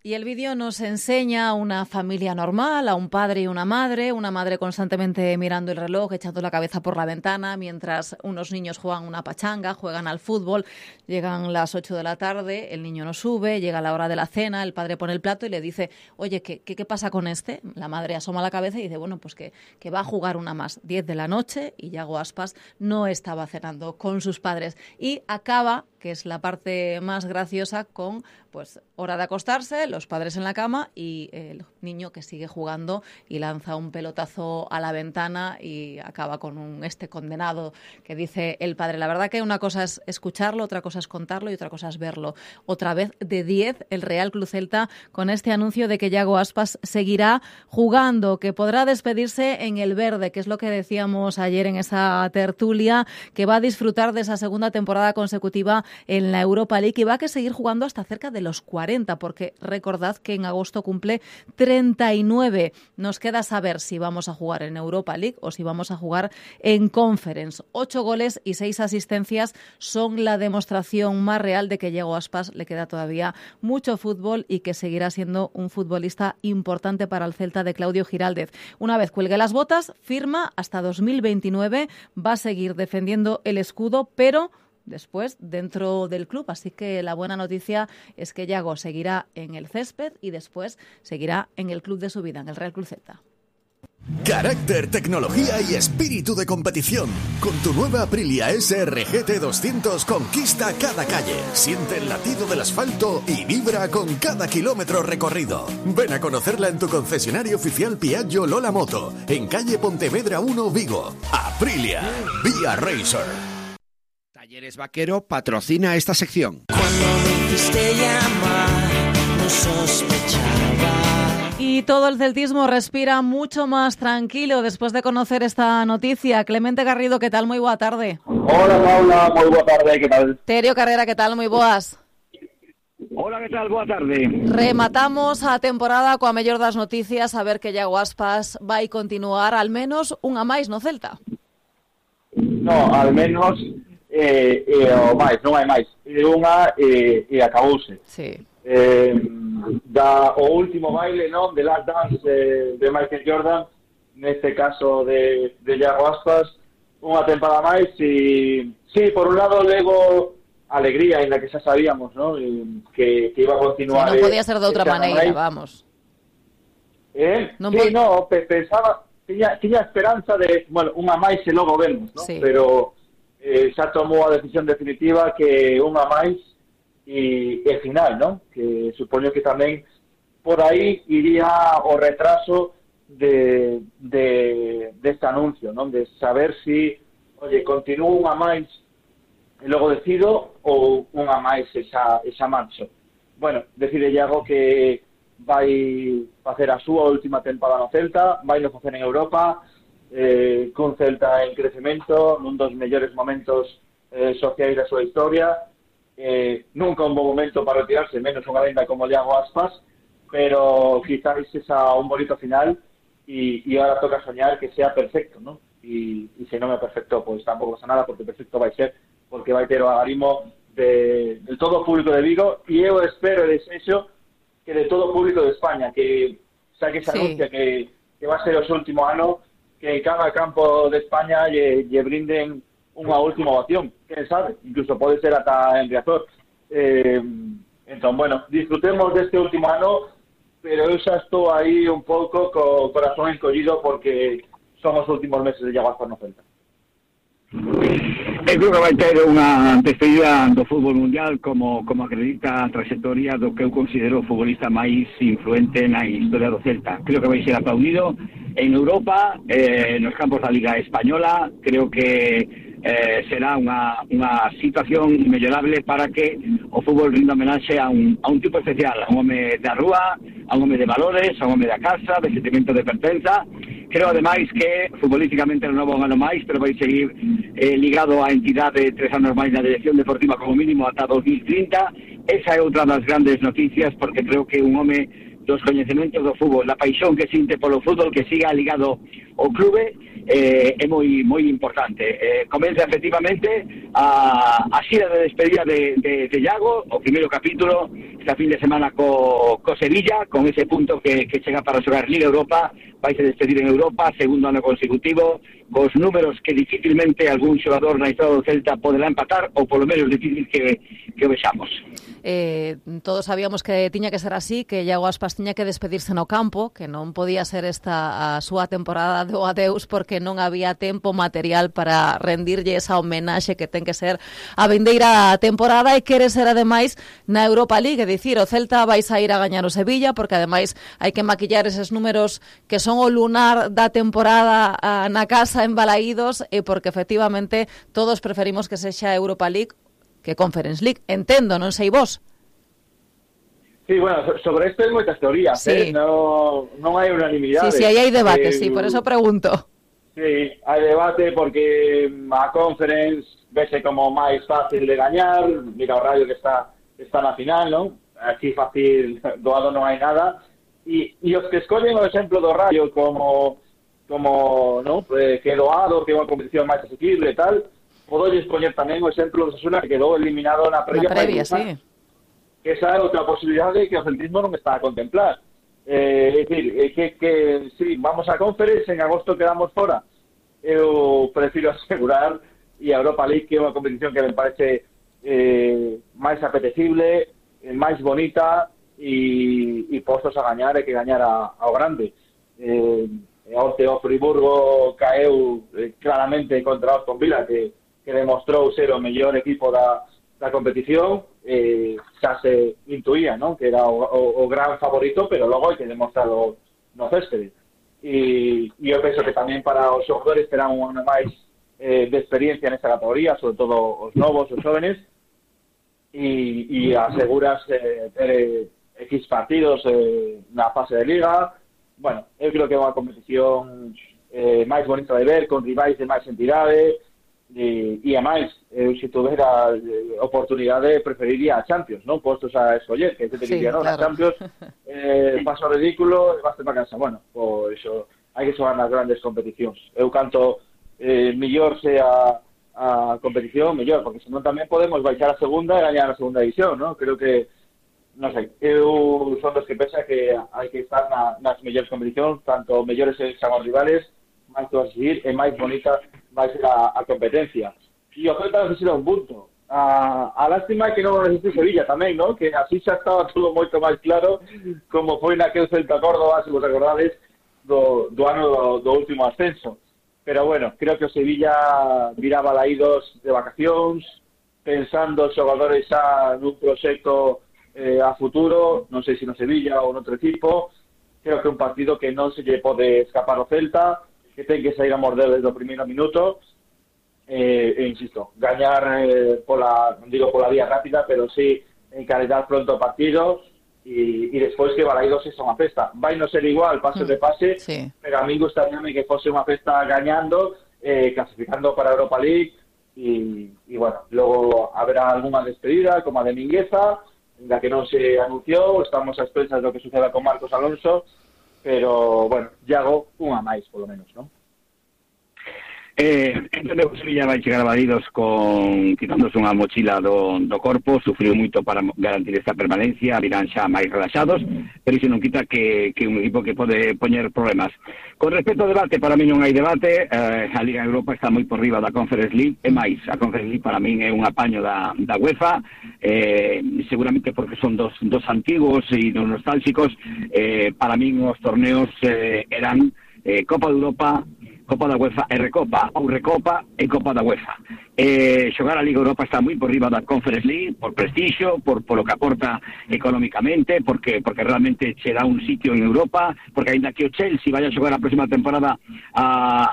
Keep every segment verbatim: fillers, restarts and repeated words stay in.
Y el vídeo nos enseña a una familia normal, a un padre y una madre, una madre constantemente mirando el reloj, echando la cabeza por la ventana, mientras unos niños juegan una pachanga, juegan al fútbol, llegan las ocho de la tarde, el niño no sube, llega la hora de la cena, el padre pone el plato y le dice, oye, ¿qué, qué, qué pasa con este? La madre asoma la cabeza y dice, bueno, pues que, que va a jugar una más, diez de la noche, y Yago Aspas no estaba cenando con sus padres. Y acaba, que es la parte más graciosa, con pues hora de acostarse, los padres en la cama y el niño que sigue jugando y lanza un pelotazo a la ventana y acaba con un este condenado que dice el padre. La verdad que una cosa es escucharlo, otra cosa es contarlo y otra cosa es verlo. Otra vez de diez el Real Club Celta con este anuncio de que Yago Aspas seguirá jugando, que podrá despedirse en el verde, que es lo que decíamos ayer en esa tertulia, que va a disfrutar de esa segunda temporada consecutiva en la Europa League y va a que seguir jugando hasta cerca de los cuarenta, porque recordad que en agosto cumple treinta y nueve. Nos queda saber si vamos a jugar en Europa League o si vamos a jugar en Conference. Ocho goles y seis asistencias son la demostración más real de que Yago Aspas le queda todavía mucho fútbol y que seguirá siendo un futbolista importante para el Celta de Claudio Giraldez. Una vez cuelgue las botas, firma hasta dos mil veintinueve, va a seguir defendiendo el escudo, pero después dentro del club. Así que la buena noticia es que Yago seguirá en el césped y después seguirá en el club de su vida, en el Real Club Celta. Carácter, tecnología y espíritu de competición. Con tu nueva Aprilia S R G T doscientos conquista cada calle. Siente el latido del asfalto y vibra con cada kilómetro recorrido. Ven a conocerla en tu concesionario oficial Piaggio Lola Moto, en calle Pontevedra uno, Vigo. Aprilia, Vía Racer. Talleres Vaquero patrocina esta sección. Cuando me hiciste llamar, no sospechaba. Y todo el celtismo respira mucho más tranquilo después de conocer esta noticia. Clemente Garrido, ¿qué tal? Muy buena tarde. Hola, Paula, muy buena tarde, ¿qué tal? Terio Carrera, ¿qué tal? Muy boas. Hola, ¿qué tal? Buena tarde. Rematamos a temporada coa mellor das noticias, a ver que Yago Aspas vai continuar al menos unha máis no Celta. No, al menos eh, eh, o máis, non hai máis. E unha e, e acabouse. Sí. Eh, da o último baile, non, de Last Dance eh, de Michael Jordan, neste caso de, de Yago Aspas, unha temporada máis e sí, por un lado levo alegría, en la que xa sabíamos, ¿no? que, que iba a continuar. Sí, non podía ser de outra maneira, máis. Vamos. Eh? Non sí, pod... no, pensaba, tiña, tiña esperanza de, bueno, unha máis e logo vemos, ¿no? Sí. Pero eh, xa tomou a decisión definitiva que unha máis e, e final, ¿no? Que supoño que tamén por aí iría o retraso de, de, de este anuncio, ¿no? De saber si, oye, continúo unha máis e logo decido ou unha máis esa, esa marcha. Bueno, decide Yago que vai facer a súa última temporada no Celta, vai no facer en Europa, eh, cun Celta en crecemento, nun dos mellores momentos eh, sociais da súa historia, eh, nunca un bon momento para retirarse, menos unha lenda como Yago Aspas, pero quizás esa un bonito final e, e ahora toca soñar que sea perfecto, ¿no? E, e se non é perfecto, pues tampouco pasa nada, porque perfecto vai ser, porque vai ter o agarimo de, de todo o público de Vigo, e eu espero e desexo que de todo o público de España, que xa que se anuncia sí. que, que va a ser o seu último ano, que en cada campo de España lle, lle brinden unha última ovación, quen sabe, incluso pode ser ata en Riazor. Eh, entón, bueno, disfrutemos deste último ano, pero eu xa estou aí un pouco co corazón encollido porque son os últimos meses de Yago Aspas no Celta. Eu creo que vai ter unha despedida do fútbol mundial como, como acredita a trayectoria do que eu considero o futbolista máis influente na historia do Celta. Creo que vai ser aplaudido en Europa, eh, nos campos da Liga Española. Creo que eh, será unha, unha situación mellorable para que o fútbol rinda homenaxe a un, a un tipo especial, a un home da rúa, a un home de valores, a un home da casa, de sentimento de pertenza. Creo, ademais, que futbolísticamente renova un ano máis, pero vai seguir eh, ligado á entidade tres anos máis na dirección deportiva como mínimo ata dos mil trinta. Esa é outra das grandes noticias, porque creo que un home dos coñecementos do fútbol, da paixón que sinte polo fútbol, que siga ligado ao clube, eh, é moi moi importante. Eh, comeza efectivamente a, a xira de despedida de, de, de Iago, o primeiro capítulo, esta fin de semana co, co Sevilla, con ese punto que, que chega para xogar Liga Europa, vai se despedir en Europa, segundo ano consecutivo, cos números que dificilmente algún xogador na historia do Celta poderá empatar, ou polo menos difícil que, que o vexamos. Eh, todos sabíamos que tiña que ser así, que Iago Aspas tiña que despedirse no campo, que non podía ser esta a súa temporada do adeus porque non había tempo material para rendirlle esa homenaxe que ten que ser a vindeira temporada e quere ser ademais na Europa League, é dicir, o Celta vai sair a gañar o Sevilla porque ademais hai que maquillar eses números que son o lunar da temporada a, na casa en Balaídos e porque efectivamente todos preferimos que sexa Europa League que Conference League. Entendo, non sei vos. Sí, bueno, sobre isto hai moitas teorías, sí. eh? non, non hai unanimidade. Sí, sí, aí hai debate, eh, sí, por eso pregunto. Sí, hai debate porque a Conference vese como máis fácil de gañar, mira o Rayo que está está na final, non? Aquí fácil, doado non hai nada, e, e os que escollen o exemplo do Rayo como, como non? Eh, que doado, que é unha competición máis asequible e tal, podo escoller tamén o exemplo do Osasuna que quedou eliminado na previa. Na previa, sí. Que esa é outra posibilidade que o centrismo non está a contemplar. Eh, é dicir, é que, que sí, vamos a Conference, en agosto quedamos fora. Eu prefiro asegurar, e a Europa League que é unha competición que me parece eh, máis apetecible, eh, máis bonita e, e postos a gañar e que gañar a, ao grande. Eh, onte o Friburgo caeu eh, claramente contra o Aston Villa, que que demostrou ser o mellor equipo da, da competición, eh, xa se intuía, non? Que era o, o, o gran favorito, pero logo hai que demostrarlo no céspede. E, e eu penso que tamén para os xogadores terán unha máis eh, de experiencia nesta categoría, sobre todo os novos, os jóvenes, e, e aseguras eh, ter X partidos eh, na fase de Liga. Bueno, eu creo que é unha competición eh, máis bonita de ver, con rivais de máis entidade. E, e a máis, eu se tuvera eh, oportunidade preferiría a Champions, non? Postos a escoller, que te diría, sí, non? Claro. A Champions eh, paso ridículo e vaste para casa. Bueno, pois iso, hai que xogar nas grandes competicións. Eu canto eh, mellor sea a competición, mellor, porque senón tamén podemos baixar a segunda e gañar a segunda división, non? Creo que, non sei, eu son dos que pensa que hai que estar na, nas mellores competicións, tanto mellores son os rivales, máis que seguir e máis bonita vai ser a, a competencia. E o Celta necesita un punto. A, a lástima é que non necesite Sevilla tamén, non? Que así xa estaba todo moito máis claro como foi naquel Celta Córdoba, se vos acordades, do, do ano do, do último ascenso. Pero bueno, creo que o Sevilla virá Balaídos de vacacións, pensando os xogadores xa nun proxecto eh, a futuro, non sei se no Sevilla ou noutro equipo. Creo que é un partido que non se lle pode escapar o Celta, que ten que sair a morder desde o primeiro minuto eh, e insisto, gañar eh, pola, non digo pola vía rápida, pero sí encaretar pronto o partido e, e despois que Balaídos é unha festa. Vai non ser igual, pase de pase, sí. Pero a mí gustaríame que fose unha festa gañando, eh, clasificando para a Europa League e, e bueno, logo haberá algunha despedida como a de Mingueza, en la que non se anunciou, estamos a expensas do que suceda con Marcos Alonso, pero, bueno, Iago unha máis, polo menos, non? Eh, entendo que o Sevilla vai chegar a Balaídos con quitándose unha mochila do, do corpo, sufriu moito para garantir esta permanencia, virán xa máis relaxados, pero iso non quita que, que un equipo que pode poñer problemas. Con respecto ao debate, para mí non hai debate, eh, a Liga Europa está moi por riba da Conference League, e máis, a Conference League para mí é un apaño da, da UEFA, eh, seguramente porque son dos, dos antigos e dos nostálxicos, eh, para mí os torneos eh, eran eh, Copa de Europa, Copa da UEFA e Recopa, ou Recopa e Copa da UEFA. Eh, xogar a Liga Europa está moi por riba da Conference League, por prestixio, por, por lo que aporta económicamente, porque porque realmente che dá un sitio en Europa, porque ainda que o Chelsea vaya a xogar a próxima temporada a,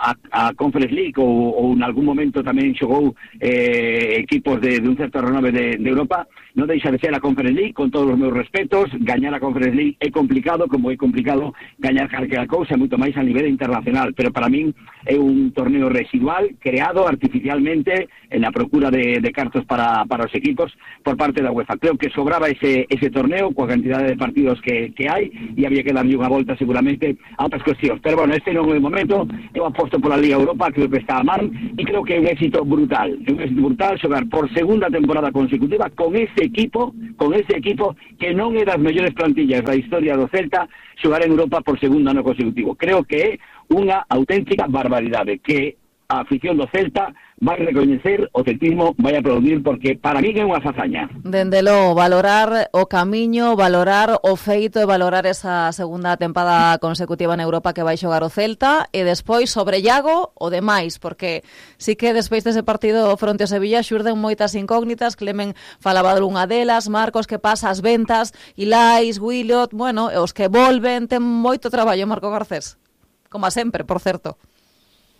a, a Conference League, ou, ou en algún momento tamén xogou eh, equipos de, de un certo renove de, de Europa, non deixa de ser a Conference League, con todos os meus respetos. Gañar a Conference League é complicado, como é complicado gañar calquera cousa, moito máis a nivel internacional, pero para min é un torneo residual, creado artificialmente en la procura de, de cartos para, para os equipos por parte da UEFA. Creo que sobraba ese, ese torneo coa cantidade de partidos que, que hai, e había que darlle unha volta seguramente a outras cuestións. Pero bueno, este non é o momento. Eu aposto pola Liga Europa, creo que está a man, e creo que é un éxito brutal, é un éxito brutal xogar por segunda temporada consecutiva con ese equipo, con ese equipo que non é das mellores plantillas da historia do Celta, xogar en Europa por segundo ano consecutivo. Creo que é unha auténtica barbaridade, que a afición do Celta vai recoñecer, o celtismo vai aplaudir, porque para mí é unha fazaña. Dende logo, valorar o camiño, valorar o feito e valorar esa segunda tempada consecutiva en Europa que vai xogar o Celta, e despois sobre Iago o demais, porque sí que despois dese partido fronte ao Sevilla xurden moitas incógnitas. Clemen falaba de unha delas, Marcos, que pasa as ventas, Ilais, Willot, bueno, os que volven, ten moito traballo Marco Garcés, como a sempre, por certo.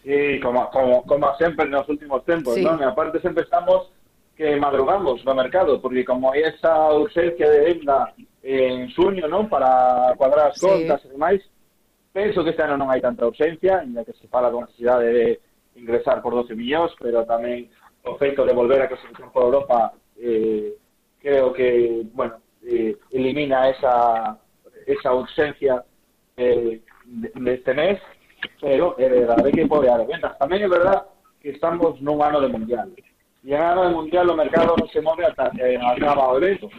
Sí, como, como, como sempre nos últimos tempos, sí. Non? E aparte sempre estamos que madrugamos no mercado, porque como hai esa urgencia de venda en xuño, non? Para cuadrar as contas sí. E demais, penso que este ano non hai tanta urgencia, ainda que se fala con necesidade de ingresar por doce millóns, pero tamén o feito de volver a clasificación por Europa eh, creo que, bueno, eh, elimina esa, esa urgencia eh, deste de mes. Pero é verdade que pode haber ventas. Tamén é verdade que estamos nun ano de mundial. E en ano de mundial o mercado non se move ata que acaba o evento.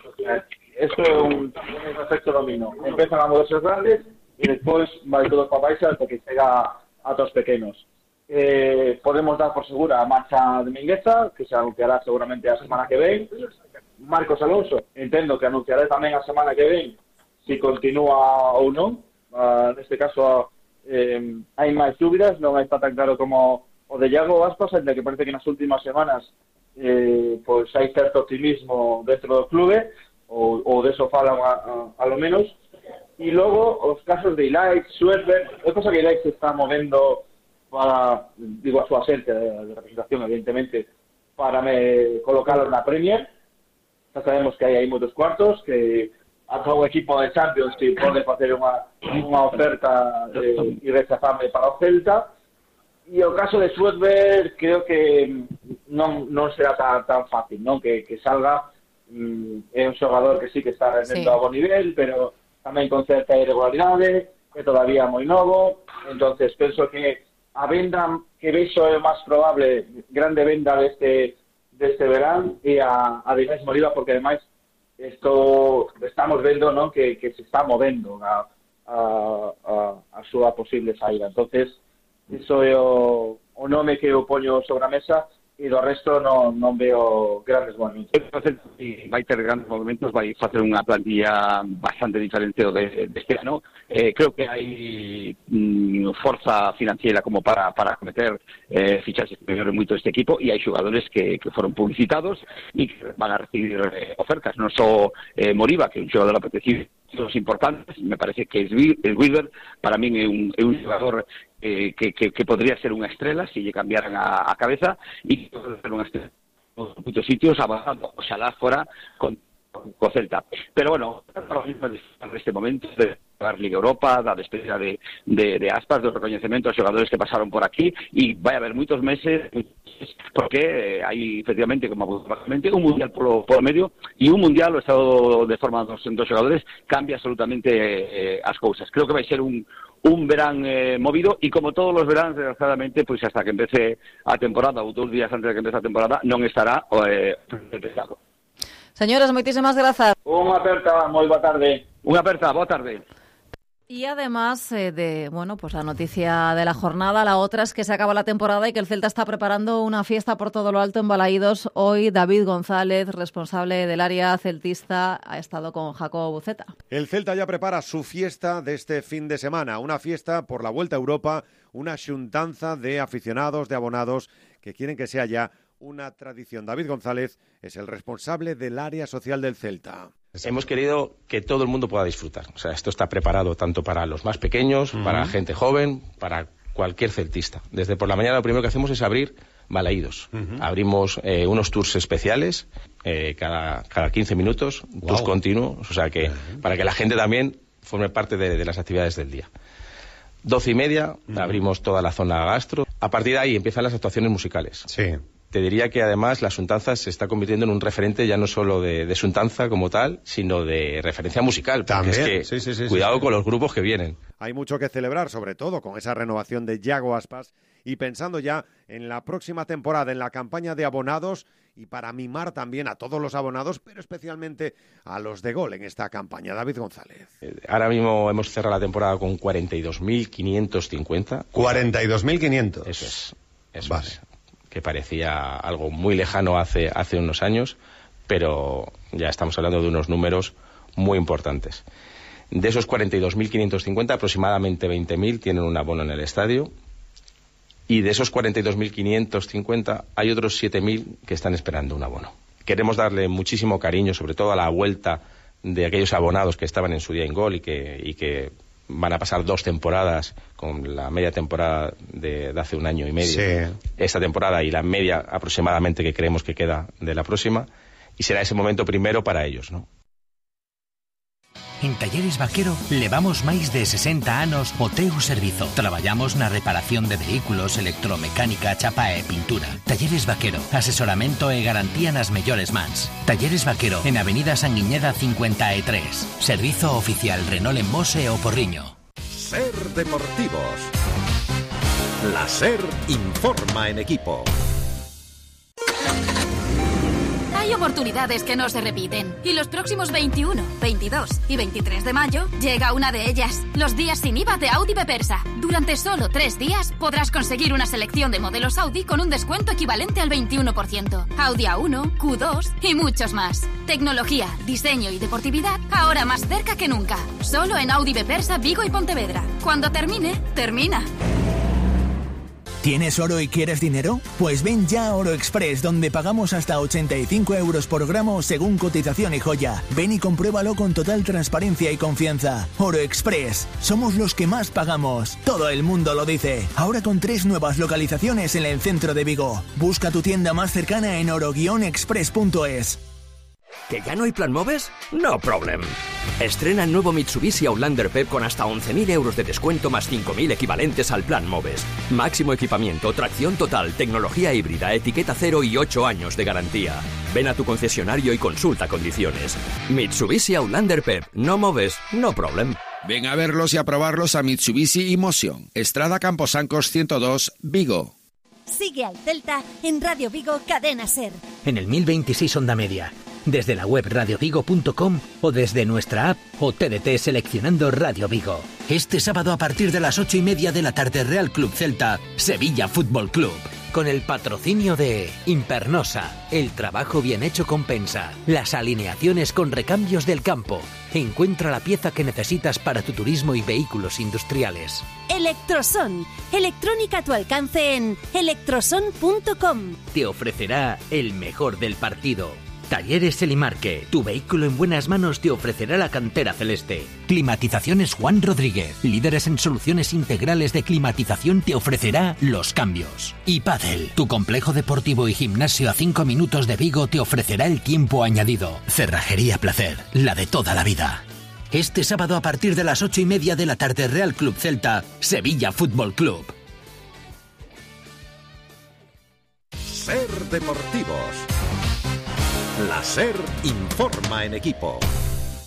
Isto é un, un efecto dominó. Empezan a moverse os grandes e despois vai todo para baixo ata que chega a todos pequenos. Eh, podemos dar por segura a marcha de Mingueza, que se anunciará seguramente a semana que ven. Marcos Alonso, entendo que anunciará tamén a semana que ven se continúa ou non. Uh, neste caso Eh, hai máis dúbidas, non está tan claro como o de Iago Aspas, ainda que parece que nas últimas semanas eh, pois hai certo optimismo dentro do clube, ou, ou deso falan a, a, a lo menos. E logo os casos de Ilais, Schwerber, é cosa que Ilais se está movendo para, digo, a súa xente de, de representación, evidentemente, para me colocarlo na Premier. Xa sabemos que hai aí moitos cuartos, que ata o equipo de Champions que pode facer unha, unha oferta eh, irrechazable para o Celta. E o caso de Schwerber creo que non, non será tan, tan fácil, non? Que, que salga. Mm, é un xogador que sí que está rendendo sí. A bon nivel, pero tamén con certa irregularidade, que todavía é moi novo. Entonces penso que a venda que vexo é o máis probable, grande venda deste, deste verán, e a, a de Inés Moriba, porque ademais esto estamos vendo, ¿no? que, que se está movendo a, a, a, a súa posible saída. Entonces, iso é o, o nome que eu poño sobre a mesa, e do resto non, non veo grandes movimentos. Vai ter grandes movimentos, vai facer unha plantilla bastante diferente de, de este ano. Eh, creo que hai mm, forza financiera como para, para cometer eh, fichaxes que mellore moito este equipo, e hai xogadores que, que foron publicitados e que van a recibir eh, ofertas. Non só eh, Moriba, que é un xogador apetecido, los importantes, me parece que es el Wilber, para mí é un, é un xogador eh, que, que, que podría ser unha estrela se lle cambiaran a, a cabeza, e que pode ser unha estrela en muchos sitios, avanzando, oxalá fora con, con Celta. Pero bueno, en este momento de a Liga Europa, da despedida de, de, de Aspas, do recoñecemento aos xogadores que pasaron por aquí, e vai haber moitos meses, porque hai efectivamente, como apuntabamente, un mundial polo, polo medio, e un mundial, o estado de forma dos, dos xogadores cambia absolutamente eh, as cousas. Creo que vai ser un un verán eh, movido, e como todos os veráns, desgraciadamente, pois hasta que empece a temporada, ou dous días antes de que empece a temporada, non estará eh, empezado. Señores, moitísimas grazas. Unha aperta, moi boa tarde. Unha aperta, boa tarde. Y además eh, de, bueno, pues la noticia de la jornada, la otra es que se acaba la temporada y que el Celta está preparando una fiesta por todo lo alto en Balaídos. Hoy David González, responsable del área celtista, ha estado con Jacobo Buceta. El Celta ya prepara su fiesta de este fin de semana, una fiesta por la Vuelta a Europa, una xuntanza de aficionados, de abonados, que quieren que sea ya una tradición. David González es el responsable del área social del Celta. Hemos querido que todo el mundo pueda disfrutar. O sea, esto está preparado tanto para los más pequeños, uh-huh. para gente joven, para cualquier celtista. Desde por la mañana lo primero que hacemos es abrir Balaídos. Ujú. Abrimos eh, unos tours especiales eh, cada, cada quince minutos, Wow. tours continuos, o sea que Uh-huh. para que la gente también forme parte de, de las actividades del día. Doce y media, Uh-huh. abrimos toda la zona gastro. A partir de ahí empiezan las actuaciones musicales. Sí. Te diría que además la Suntanza se está convirtiendo en un referente ya no solo de, de Suntanza como tal, sino de referencia musical. Porque También, es que, sí, sí, sí, cuidado sí, sí. con los grupos que vienen. Hay mucho que celebrar, sobre todo con esa renovación de Yago Aspas y pensando ya en la próxima temporada, en la campaña de abonados y para mimar también a todos los abonados, pero especialmente a los de Gol en esta campaña. David González. Eh, Ahora mismo hemos cerrado la temporada con cuarenta y dos mil quinientos cincuenta. cuarenta y dos mil quinientos. Eso es. Eso Vale. es. Que parecía algo muy lejano hace, hace unos años, pero ya estamos hablando de unos números muy importantes. De esos cuarenta y dos mil quinientos cincuenta, aproximadamente veinte mil tienen un abono en el estadio. Y de esos cuarenta y dos mil quinientos cincuenta hay otros siete mil que están esperando un abono. Queremos darle muchísimo cariño, sobre todo a la vuelta de aquellos abonados que estaban en su día en Gol y que, y que van a pasar dos temporadas con la media temporada de, de hace un año y medio. Sí. Esta temporada y la media aproximadamente que creemos que queda de la próxima. Y será ese momento primero para ellos, ¿no? En Talleres Vaquero levamos máis de sesenta anos o teu servizo. Traballamos na reparación de vehículos, electromecánica, chapa e pintura. Talleres Vaquero, asesoramento e garantía nas mellores mans. Talleres Vaquero, en Avenida Sanguiñeda cincuenta e tres. Servizo oficial Renault en Mos e o Porriño. Ser Deportivos. La SER informa en equipo. Hay oportunidades que no se repiten y los próximos veintiuno, veintidós y veintitrés de mayo llega una de ellas, los días sin I V A de Audi Bepersa. Durante solo tres días podrás conseguir una selección de modelos Audi con un descuento equivalente al veintiuno por ciento. Audi A uno, Q dos y muchos más. Tecnología, diseño y deportividad ahora más cerca que nunca. Solo en Audi Bepersa, Vigo y Pontevedra. Cuando termine, termina. ¿Tienes oro y quieres dinero? Pues ven ya a Oro Express, donde pagamos hasta ochenta y cinco euros por gramo según cotización y joya. Ven y compruébalo con total transparencia y confianza. Oro Express, somos los que más pagamos. Todo el mundo lo dice. Ahora con tres nuevas localizaciones en el centro de Vigo. Busca tu tienda más cercana en oro guion express punto es. ¿Que ya no hay plan MOVES? No problem. Estrena el nuevo Mitsubishi Outlander P E P con hasta once mil euros de descuento más cinco mil equivalentes al plan MOVES. Máximo equipamiento, tracción total, tecnología híbrida, etiqueta cero y ocho años de garantía. Ven a tu concesionario y consulta condiciones. Mitsubishi Outlander P E P. No MOVES, no problem. Ven a verlos y a probarlos a Mitsubishi Emotion. Estrada Camposancos ciento dos, Vigo. Sigue al Celta en Radio Vigo Cadena SER. En el mil veintiséis Onda Media. Desde la web radio vigo punto com o desde nuestra app o T D T seleccionando Radio Vigo. Este sábado a partir de las ocho y media de la tarde Real Club Celta, Sevilla Fútbol Club. Con el patrocinio de Impernosa, el trabajo bien hecho compensa. Las alineaciones con recambios del campo. Encuentra la pieza que necesitas para tu turismo y vehículos industriales. Electroson, electrónica a tu alcance en electroson punto com. Te ofrecerá el mejor del partido. Talleres Elimarque, tu vehículo en buenas manos te ofrecerá la cantera celeste. Climatizaciones Juan Rodríguez, líderes en soluciones integrales de climatización, te ofrecerá los cambios. Y Padel, tu complejo deportivo y gimnasio a cinco minutos de Vigo te ofrecerá el tiempo añadido. Cerrajería Placer, la de toda la vida. Este sábado a partir de las ocho y media de la tarde Real Club Celta, Sevilla Fútbol Club. SER Deportivos. La SER informa en equipo.